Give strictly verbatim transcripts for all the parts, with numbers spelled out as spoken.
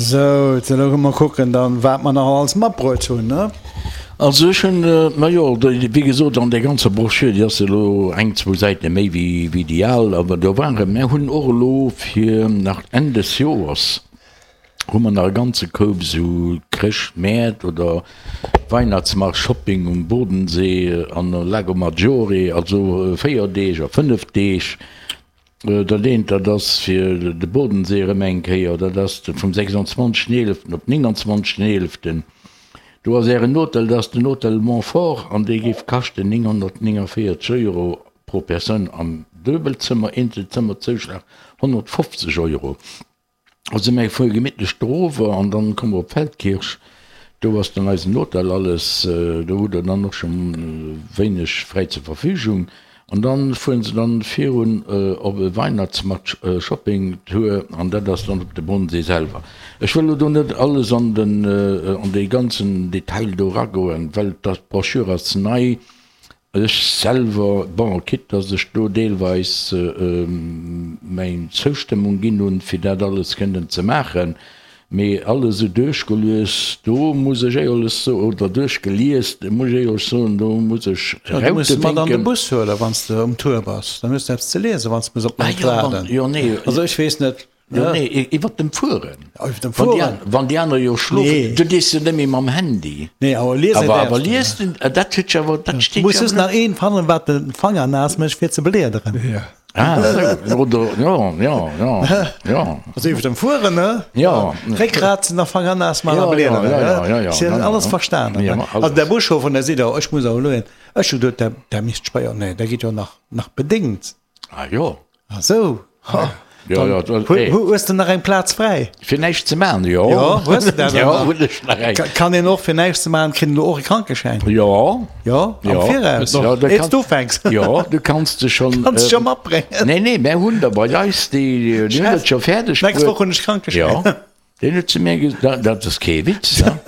Sou, elo mol kucken dann, wat mer nach alles matbruet hunn, ne? Also ech hunn, majo, wéi gesot, an där ganzer Broschür, déi ass elo eng, zwou Säite méi wéi wéi déi al, awer do waren, mär hunn och elo fir nach Enn des Joers hu mer nach e ganze Koup esou Chrëschtmäert oder Weihnachtsmarkt-Shopping um Bodensee an Lago Maggiore, also véier Deeg a fënnef Deeg. Dat eent, dat ass fir de Bodensee erëm eng Kéier, dat ass vum sechsundzwanzegsten eeleften op nénganzwanzegsten eeleften. Do ass Ären Hotel, dat ass den Hotel Montfort an dee géif kaschten nénghonnertnénganvéierzeg Euro pro Persoun am Duebelzëmmer, Eenzelzëmmerzouschlag honnertfofzeg Euro. Also mir fuere gemittlech dorower an dann komme mer op Feldkirch. Do ass dann eisen Hotel, alles, do hutt Der dann och scho wéineg fräi zur Verfügung. An dann fueren se dann virun op e Weihnachtsmarkt Shopping Tour an dat ass dann op de Bodensee selwer. Ech wëll elo do net alles an den an dee ganzen Detail do eragoen, well d'Broschür ass nei. Ech selwer, bon, quitte dass ech do deelweis meng Zoustëmmung ginn hunn, fir dat alles kënnen ze maachen, mee alles esou duerchgelues, do muss ech éierlech soen, oder duerchgelies, do muss ech éierlech soen, do muss ech Jo, du muss Raute mat an de wénken. Bus huelen, wann s de um Tour bass. Dann hues de eppes ze liesen, wann s de muss op Ah d'Leit jo, wann, waarden. jo, nee. Also ech weess net. Jo, nee, iwwert dem Fueren. Iwwert dem Wann déi Fueren. Wann déi aner jo schlofen, Nee. du dees jo net méi mam Handy. Nee, awer liesen Awer, awer däerfs du. liesen, dat huet jo awer, dat steet Muss jo just awer nach een fannen, wat de Fanger naass mécht fir ze bliederen. Ja. Ah, esou, oder, jo, jo, jo, jo. Also iwwert dem Fueren, ne? Ja. Réckgrat sinn nach Fanger naass man a Ja, ja, bliederen, ja, ne? ja, ja, ja, Si ja, ja. alles verstanen, Ja, ne? alles. Also der Buschauffer, der seet och, ech muss awer elo een, ech hu geduet, der, der misst spéier, nee, der geet jo nach, nach bedéngt. Ah, jo. Ah sou, ha. Jo, jo, dat, Hu, ey. hu, hues de nach eng Plaz fräi? Fir näischt ze maachen, jo. Jo, hues de dat Jo, nach? hunn ech nach eng. Ka, kann een och fir näischt ze maachen, kritt een do och e Krankeschäin? Jo. Jo, am Jo. Viraus. Ja, da Eets kann- du ufänks. Jo, du kanns de schon. Kanns äh, scho matbréngen. Nee, nee, mär hunn der bei eis, déi, déi hunn dat scho fäerdeg Nächst bruet. Woch hunn ech Krankeschäin. Jo. Deen huet zu mir gesot, dat, dat ass kee Witz, ne?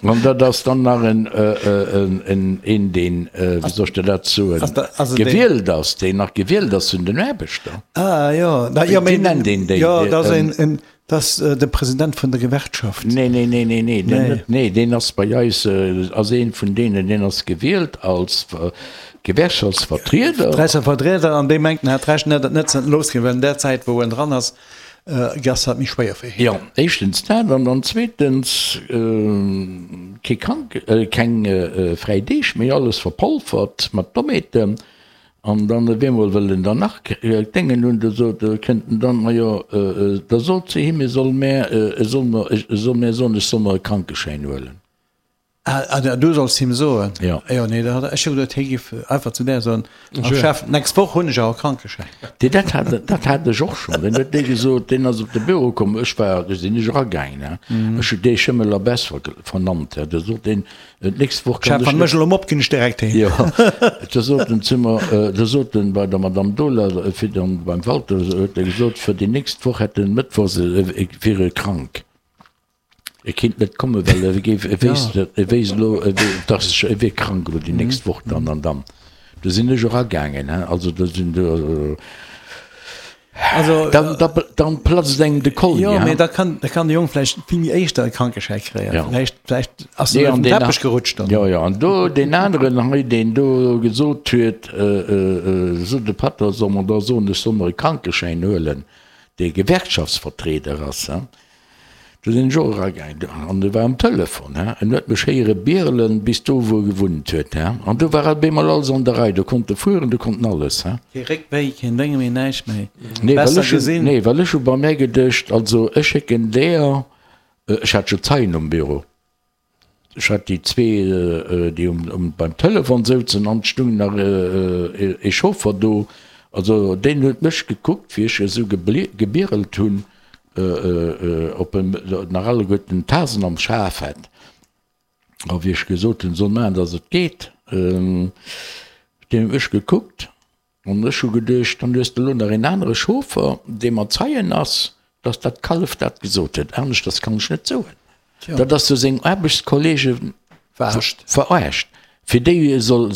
An dat ass dann nach en, en, en, een, deen, wéi soll ech der dat soen, Ass da, also deen, gewielt ass, deen nach gewielt ass vun den Aarbechter. Ah, jo, da, jo, Wéi mee, nennt een déi? jo, dat ass Ähm, een, en, dat ass de President vun der Gewerkschaft. Nee, nee, nee, nee, nee, deen Nee. net, nee, deen ass bei eis, ass een vun deenen, deen ass gewielt als Gewerkschaftsvertrieder. Vertrieder, an dee mengt, en hätt d'Recht, net, net ze losginn, well an där Zäit, wou en dran ass, Ass dat méi schwéier fir hien? Jo, éischtens dat an dann zweetens kee Krank, keng fräi Deeg méi, alles verpolfert mat Dommheeten. An dann op eemol wëll en dann nach Déngen hunn, da sot, kënnt en dann, majo, da sot se him, e soll mär, e soll mer, e soll mär soen, ech soll mer e Krankeschäin huelen. Ah, du solls him soen? Jo. Jo, nee, da hat ech jo geduet, hie giff einfach zu där soen, Ah, Chef, d'nächst Woch hunn ech awer Krankeschäin. Dee, dat hat, dat hat ech och schonn. Deen huet dee gesot, deen ass op de Büro komm, ech war, do sinn ech eragaangen, he, ech hunn dee Schëmmel a Bess vernannt, he, da sot deen, d'nächst Woch kann Chef, ech wann net. ech elo mop, ginn ech direkt heem. Jo, da sot en zu mer, da sot en bei der Madame Dohler, fir dann beim Walter, huet e gesot, fir déi nächst Woch hätt en mëttwochs, e wier e krank. E kinnt net kommen, well e géif, e wéisst, e wéisst elo, e wé, dass e wier krank elo déi nächst Woch dann an dann. Do sinn ech eragaangen, hein, also do sinn do, Also, dann, da, dann platzt engem de Kolli, jo, mee hein. da kann, da kann de Jong vläicht vill méi éischter e Krankeschäi kréien. Ja. Vläicht, vläicht ass Nee, en an op den deen, Teppech gerutscht dann. jo, jo, an do deen aneren hei, deen do gesot huet, sou de Pater soll mer da soen, ech soll mer e Krankeschäin huelen, dee Gewerkschaftsvertrieder ass, hein. Do sinn ech och eragaangen an e war um Telefon, he, en huet mech héiere birelen bis do wou e gewunnt huet, he, an do war op eemol alles an der Rei, do konnt e fueren, do konnt en alles, he. Kee Réckwéi, keen Dénge méi, näischt méi. Nee, well Besser ech hunn, gesinn. nee, well ech hu bei mär geduecht, also ech schécken deeër, ech hat jo Zeien um Büro, ech hat déi zwee, déi um, um, beim Telefon souzen an et stung nach ee Chauffer do, also deen huet mech gekuckt, wéi ech esou gebirelt hunn. Ob en nach alleguerten d'Tasen am Schaf hätt. A wéi ech gesot hunn, soll maachen, datt et geet, deen huet mech gekuckt an ech hu geduecht, dann hues de elo nach een anere Chauffer, dee mat Zeien ass, datt dat Kallef dat gesot huet. Aneschters kann ech net soen. Dat ass jo seng Aarbechtskollege verarscht. Fir déi soll.